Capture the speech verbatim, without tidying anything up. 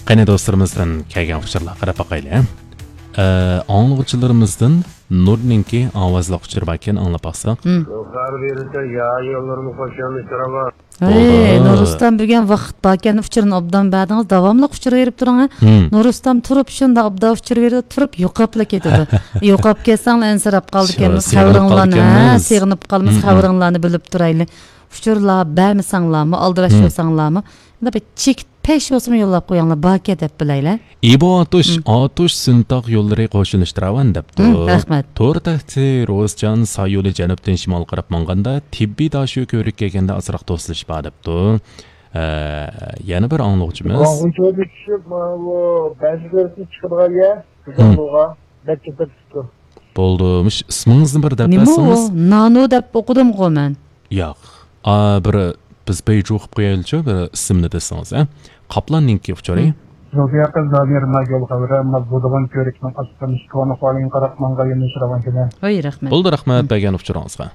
قېنى، دوستلىرىمىزدىن كەلگەن ئۇچۇرلارغا قاراپ باقايلى. ئە، ئاڭلىغۇچىلىرىمىزدىن نۇرنىڭكى ئاۋازلىق ئۇچۇرى باركەن، ئاڭلاپ باقساق. مم. يوقار بېرىسە يا يوللىرىمۇ قوشۇلمىش تۇرۇۋال. ھەي، بولدى. نۇرۇسلان، بۈگۈن ۋاقىت باركەن، ئۇچۇرنى ئوبدان بەردىڭىز، داۋاملىق ئۇچۇر بېرىپ تۇرۇڭ، ھە. مم. نۇرۇسلان تۇرۇپ شۇنداق ئوبدان ئۇچۇر بېرىدۇ، تۇرۇپ يوقاپلا كېتىدۇ. يوقاپ كەتسەڭلار ئەنسىرەپ قالىدىكەنمىز، سېغىنىپ خەۋىرىڭلارنى، ھە، قالىدىكەنمىز. سېغىنىپ قالىمىز، مم، مم. خەۋىرىڭلارنى بىلىپ تۇرايلى. ئۇچۇرلار بەرمىسەڭلارمۇ، ئالدىراش، مم، بولساڭلارمۇ، يەنە بىر چېكىت پەش بولسىمۇ يوللاپ قويۇڭلار، باركە دەپ بىلەيلى. ئىبو ئاتۇش، مم. ئاتۇش سۇنتاغ يوللىرى قوشۇلۇشتۇراۋان دەپتۇ. مم، رەھمەت. تور تەختى روزجان سايولى جەنۇبتىن شىمال قاراپ ماڭغاندا، تېببىي داشۆ كۆۋرۈككە كەلگەندە ئازراق توسۇلۇش بار دەپتۇ. ئە، يەنە بىر ئاڭلىغۇچىمىز. ياڭغۇ چۆلىگە چۈشۈپ، مانا بۇ بەنزى كۆۋرۈكتىن چىقىدىغان يەر، بىز، مم، ئاڭلىغان. بەك كۆپ كېتىپتۇ. بولدى، مۇشۇ ئىسمىڭىزنى بىر دەپ بەرسىڭىز. نېمە ئۇ؟ نانو دەپ ئوقۇدۇمغۇ مەن. ياق. ئا، بىر بىز بەيجۇ قىلىپ قويايلىچۇ، بىر ئىسىمنى دېسىڭىز، ھە؟ قاپلاننىڭكى ئۇچۇرى. مم. زوفىيە قىز زامىر ما يول خەۋىرى، ما بۇدىغان كۆۋرۈكنىڭ ئاستىدىن كونا خۇالىڭ قاراپ ماڭغا يۆنىلىش راۋانكىنى. ھوي، رەھمەت. بولدى، رەھمەت، مم، بەرگەن ئۇچۇرىڭىزغا.